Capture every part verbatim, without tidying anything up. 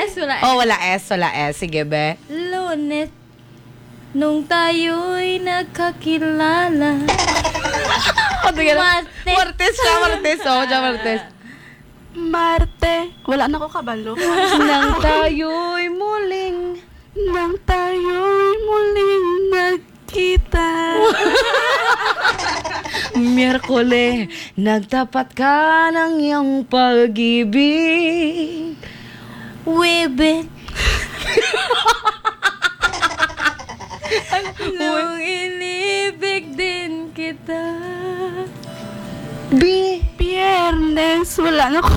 S, wala S. Oh, wala S, wala S. Sige, be. Lunes, nung tayo'y nagkakilala. O, sige na. Martes. Martes siya, Martes. Oh, siya, Martes. Marte. Wala na ko kabalo. Nang tayo'y muling Nang tayo'y muling nagkita. Miyerkule, nagtapat ka ng iyong pag-ibig. Webes. Nung inibig din kita. Bi- Biyernes, wala na ko.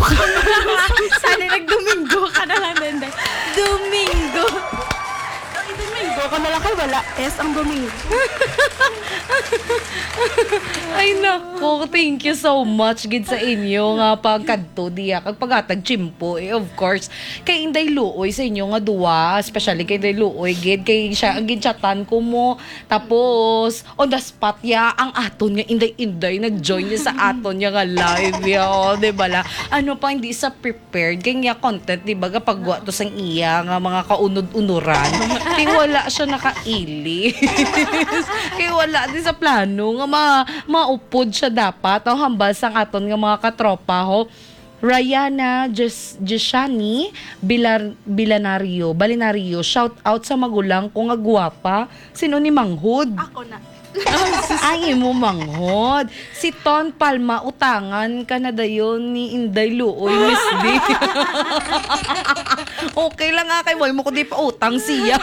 Sana nagdomingo ka na lang, Denday. Domingo. Ay, Domingo ko na lang kay wala S ang Domingo. Ay, nako, thank you so much gid sa inyo nga pagkadto diya kag paghatag tiyempo, eh, of course. Kay Inday Luoy sa inyo nga duwa, especially kay Inday Luoy gid, kay siya ang ginchatan ko mo. Tapos, on the spot ya, ang aton nga Inday-Inday nag-join niya sa aton niya nga live ya, oh, di ba la? Ano pa, hindi sa prepared kay nga content, di ba, kapag wa to sang iya nga mga kaunod-unuran, kay wala siya nakailis. Kay wala di sa plano nga ma maupod siya dapat, oh, hambal sang aton nga mga katropa, ho. Rayana Jis- Jishani Bilar- Bilanario, Balinario, shout out sa magulang ko nga guwapa. Sino ni Manghod? Ako na. Ay, imo manghod. Si Ton Palma, utangan ka na dayon ni Inday Luoy, Miss D. Okay lang, ah, kay wala mo ko di pa utang siya.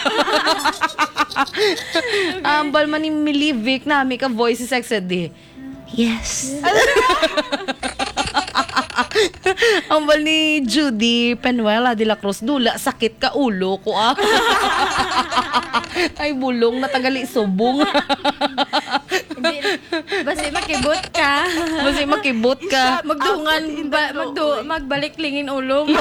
Ambal man ni Milivic, nami ka voice si Sexy D. Yes. Ambal ni Judy Penuela de la Cruz, dula, sakit ka ulo ko, ah. Ay, bulong na tagali subong. Hindi. Basi makibot ka. Basi makibot ka. Magdungan, Ako, ba, Inday magdu, Luoy. Magbalik lingin ulo mo.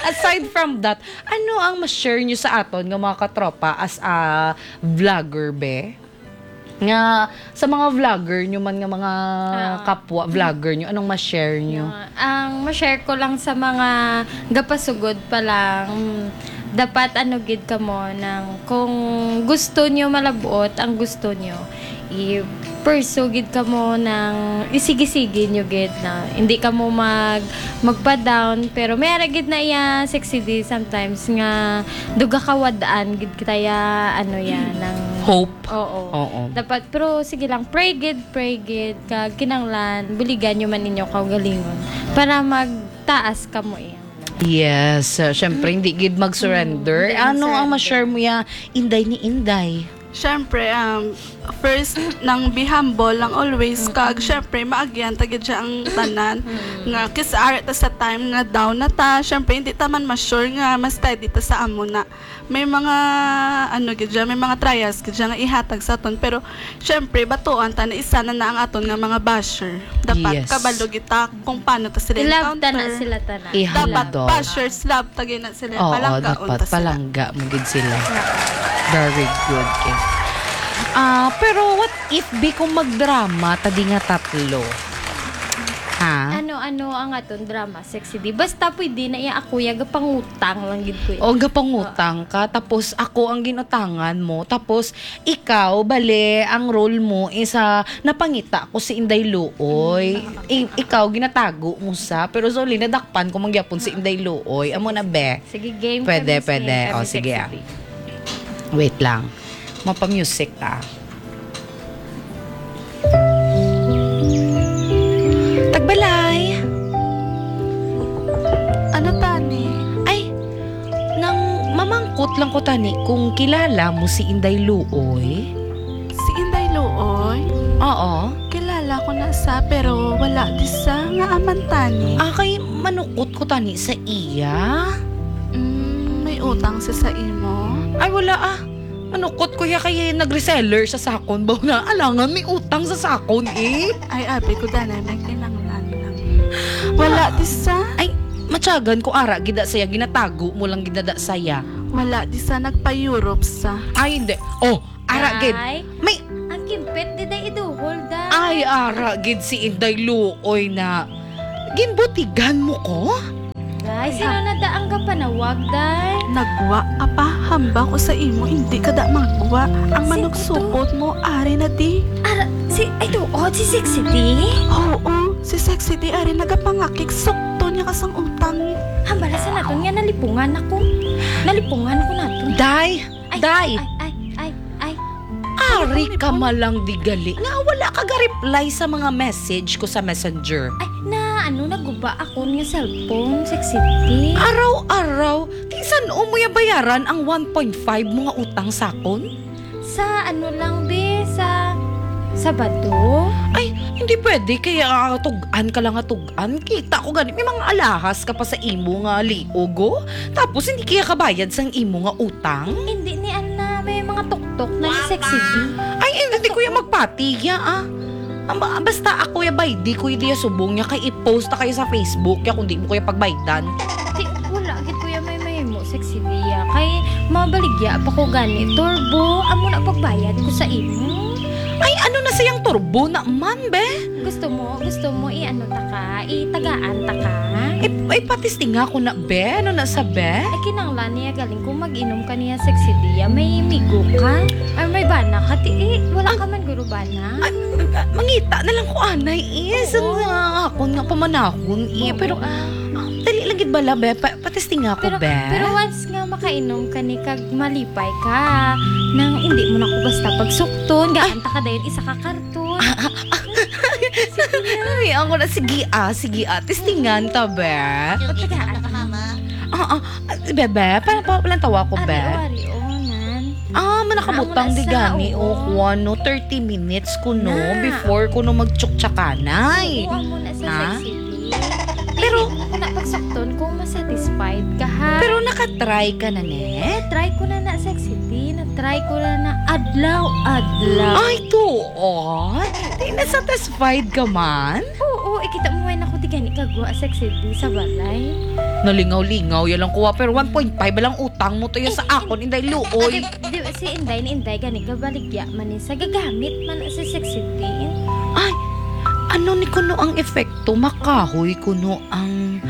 Aside from that, ano ang ma-share nyo sa aton nga mga katropa as a vlogger, be? Nga, sa mga vlogger nyo man nga mga Ah. kapwa vlogger nyo, anong ma-share nyo? Yeah. Ang ma-share ko lang sa mga gapasugod pa lang, mm, dapat ano gid kamo nang kung gusto nyo malabot ang gusto nyo, i-pursue gid kamo nang isigi-sige nyo gid na hindi kamo mag magpa-down, pero may ara gid na iya Sexy D sometimes nga duga kawad-an gid kita ya, ano ya, nang Hope. Oo. Oo. Dapat, pero sige lang, pray gid, pray gid, kag kinahanglan buligan nyo man inyo kaugalingon para magtaas kamo iya. Yes, uh, syempre, hindi gid mag-surrender. Mm, hindi Ano ang mag-surrender. ma-share mo ya, Inday ni Inday? Syempre, um, first, nang be humble lang always, Mm-mm. kag syempre, maagyan ta gid siya ang tanan. Mm. Nga, kis-, ara ta sa time nga down na ta, syempre, hindi ta man ma-sure nga ma-steady ta sa amo na. May mga, ano gid siya, may mga trials gid siya nga ihatag sa aton. Pero, syempre, batuan ta na isa na na ang aton nga mga basher. Dapat Yes. kabalo gid ta kung paano ta sila I-love ta na encounter. sila tanan. Dapat Ihalado. bashers love ta gid na sila. Oo, Palanggaon dapat ta sila. palangga mo gid sila. Very good, Kim. Ah, pero what if, be, kung magdrama ta di nga tatlo? Ha? Ano, ano ang aton drama? Sexy D. Basta pwede na iya ako, ya gapangutang lang gid ko, eh. O, gapangutang ka, tapos ako ang ginutangan mo, tapos ikaw, bale, ang role mo is, ah, napangita ko si Inday Luoy. Mm. I- ikaw, ginatago mo sa, pero Zoli, nadakpan ko man gyapon si Inday Luoy. Amo na, be. Sige, game Pwede, kami, pwede. game O, kami, sige, Sexy ah. D. Wait lang. Mapa-music ta. Tagbalay. Ano tani? Ay, nang mamangkot lang ko tani kung kilala mo si Inday Luoy. Si Inday Luoy? Oo. Kilala ko na sa, pero wala di sa nga aman tani. Ah, kay manukot ko tani sa iya. Mm, may utang sa sa imo? Ay, wala ah. Manukot ko ya kay nag-reseller sa sakon. Baw na, alangan may utang sa sakon eh. Ay, abi ko, danay, may kinanglan lang. Wala, Ah. di sa? Ay, matyagan ko ara gida saya, ginatago mo lang gida saya. Wala, di sa, nagpa-Europe sa. Ay, hindi. Oh, ara gid. Ay, May ang kimpit, di day iduhol, day. Ay, ara gid si Inday Luoy na. Ginbutigan mo ko? Day. Ay, sino na da ang gapanawag, day? Nagwa, apa, hambal ko sa imo, hindi ka da magwa. Ang Si, manok ito. Supot mo, ari na di. Ara, si, ay, to, oh, si Sexy D? Oo, si Sexy D, ari nagapangakig, sukto niya ka sang utang. Hambala sa naton nga nalipungan ako. Nalipungan ko naton. Day! Ay, Day! Ay, ay, ay, ay. Ari ka malang di gali nga wala ka ga-reply sa mga message ko sa Messenger. Ay, na ano, naguba akon nga cellphone, Sexy D. Araw-araw, kinsan-o mo ya bayaran ang one point five mo nga utang sakon? Sa ano lang, be, sa Sabado? Ay, hindi pwede, kaya tug-an ka lang nga tug-an. Kita ko gani, may mga alahas ka pa sa imo nga liog, oh. Tapos hindi kaya kabayad sang imo nga utang? Hindi ni Anna, may mga tuktok na ni Sexy D. Ay, hindi ko ya magpati ya, ah. Ang ba-, basta ako ya, bay, di ko ya diya subong ya, kay i-post na kayo sa Facebook ya kung di mo ko ya pagbaydan. Di, wala gid ko ya may mahimo, Sexy D ya. Kay mabaligya pa ko gani, turbo, amo na pagbayad ko sa imo. Ay, ano na sayang turbo na man, be? Gusto mo, gusto mo i-ano ta ka, itagaan ta ka? Ay, ay, patistinga ko na, be. Ano na sa, be? Ay, kinanglan niya galing kung mag-inom ka niya, Sexy D ya. May migo ka? Ay, may bana ka, ti, eh, wala ka man guro bana? Ay, mangita na lang ko, anay, eh. Oo. Sa nga akon nga pamanahon, eh. Oo, pero, ah. Ah, dali lang gid bala, be. Pa-, patistinga ko, Pero, be. Pero once nga makainom ka ni kag malipay ka, nang hindi mo na ko basta pagsukton, Ay. Gaan ta ka dayon isa ka karton. Ah, ah, ah. Ay, ako na. Sige, ah, sige, ah. Testingan ta, be. Yung Pagtagaan. Ikaw na ka, mama. Ah, ah. Ah, bebe, pa, pa, walang tawa ko, Ari, be. O, ari, o, nan. Ah, manakabutang Amo na di sa, gani, o, oo. Kuwan, no, thirty minutes ko, no, Na. Before ko, no, magtsuktsakanay. Oo, amo na sa Na? Sexy D. Pero Dili mo ko na pagsakton kung masatisfied ka, ha? Pero nakatry ka na, ne? Try ko na na, Sexy D. Na-try ko na na adlaw-adlaw. Ay, tuod? Di na-satisfied ka man? Oo, ikita mo, way na ko di gani kagwa, Sexy D, sa balay. Nalingaw-lingaw, ya lang kuha. Pero one point five lang utang mo to, ya sa Eh, akon, inday luoy. Di, di, si Inday ni Inday gani gabaligya man ni sa gagamit man si Sexy D. Ay, ano ni kuno ang epekto? Makahoy kuno ang,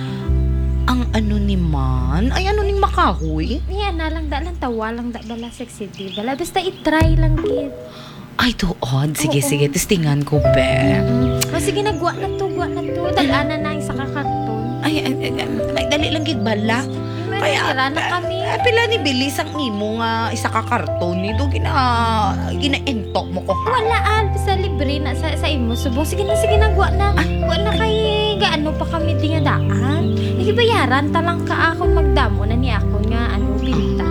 ang ano ni man? Ay, ano ning makahoy? Niya na lang, da lang, tawa lang, da bala, Sexy D. Bala, basta i-try lang gid. Ay, tuod. Sige, Oo. Sige, testingan ko, be. Mm. O, sige na, gwa na to, gwa na to. Dal-anan na ang isa ka karton. Ay, ay, ay, ay, ay, dali lang gid bala. May Kaya, natira na kami. Ay, pila ni bili sang imo nga isa ka karton ni do gina, ginaintok mo ko, ha? Wala, Al. Basta libre na sa, sa imo subong. Sige na, sige na, gwa na. Ay. Gwa na kay gaano pa kami di nga daan. Igibayaran ta lang ka akon magdamo na ni akon nga, ano, pinta.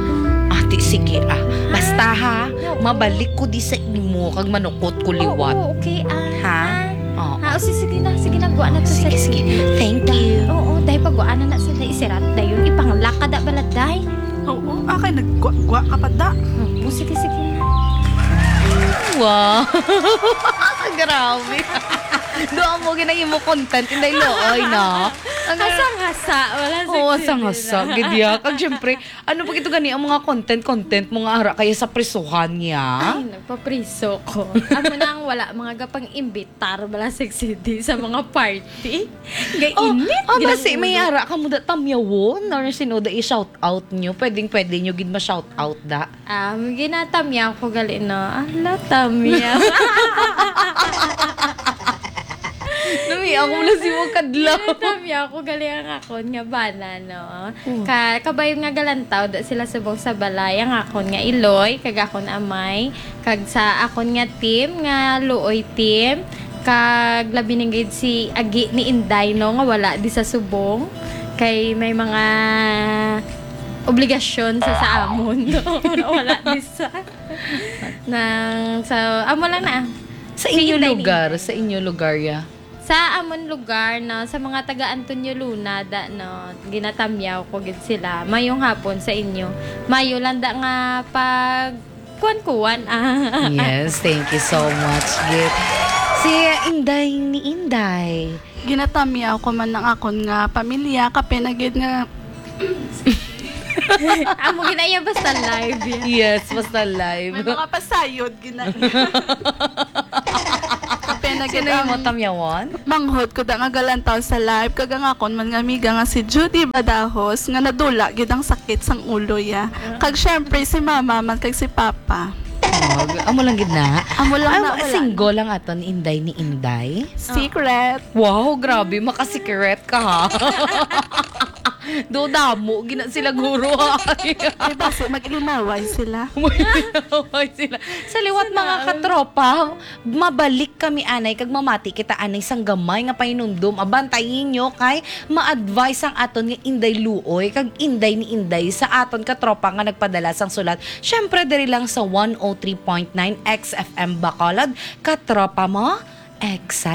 Ate, sige, ah. Basta, ha, Oo. Mabalik ko di sa imo kag manukot ko liwat. Oo, okay, ah. Ha? Ah. Oo. Ha, o, si-, sige na, sige na, gwa na to. Sige, sige. Thank you. Oo, dahil pag gwa na na sila, isirat dayon, ipanglakad na bala, day. Oo, ah, kay naggwa-gwa ka pa, da. Oo, sige, sige na. Wow. Grabe. Doon mo ginahimo content, Inday Looy, no? Ang Hasang-hasa, wala sa Oo, hasang-hasa, gid ya. Kag syempre, ano pa gito gani ang mga content-content mo nga ara kaya sa prisuhan niya? Ay, nagpapriso ko. Amo na ang wala, mga gapang-imbitar bala sa Sexy D sa mga party. Gay Oh, init, ah, basi may ginang-ulo. Ara ka mo da tamyawon, or sino da i-shout out nyo? Pwedeng pwede nyo gid ma-shout out da. Ah, ginatamyaw ko gali, no? Ala, tamyaw. Nami, ako na si mo kadlaw. Ginatamyaw ko gali ang akon nga bana, no? Oh. Ka-, kabay nga galantaw da sila subong sa balay, ang akon nga iloy, kag akon amay, kag sa akon nga team, nga luoy team, kag labi na gid si agi ni Inday, no, nga wala di sa subong. Kay may mga obligasyon sa, sa amon, no? Wala di sa, nang, sa, amo lang na. Sa inyo Sige, lugar, Danny. Sa inyo lugar, ya. Sa amon lugar, no, sa mga taga Antonio Luna, da, no, ginatamyaw ko gid sila. Mayong hapon sa inyo. Mayo lang da nga pag kuwan-kuwan, ah. Yes, thank you so much, Git. Si Inday ni Inday. Ginatamyaw ko man ang akon nga pamilya, kape na gid nga Amo ginaya basta live, ya. Yes, basta live. May mga pasayod, gina-, kape Sino yung mo tamyawan? Manghod ko da nga galantaw sa live, kag ang akon man nga amiga nga si Judy Badajos, nga nadula gid ang sakit sang ulo ya. Kag syempre, si mama man kag si papa. Oh, amo lang gid na. Amo lang na, wala. Single lang aton, Inday ni Inday. Secret. Wow, grabe, makasikret ka, ha? Do damo gina sila, guro, ha? Di ba, si, mag-ilimaway sila. Mag-ilimaway sila. Sa liwat, mga katropa, mabalik kami anay kag mamati kita anay sang gamay nga pahinumdom. Abantayin nyo kay ma-advise ang aton nga Inday Luoy kag Inday ni Inday sa aton katropa nga nagpadala sang sulat. Syempre, diri lang sa one oh three point nine X F M Bacolod, katropa mo, X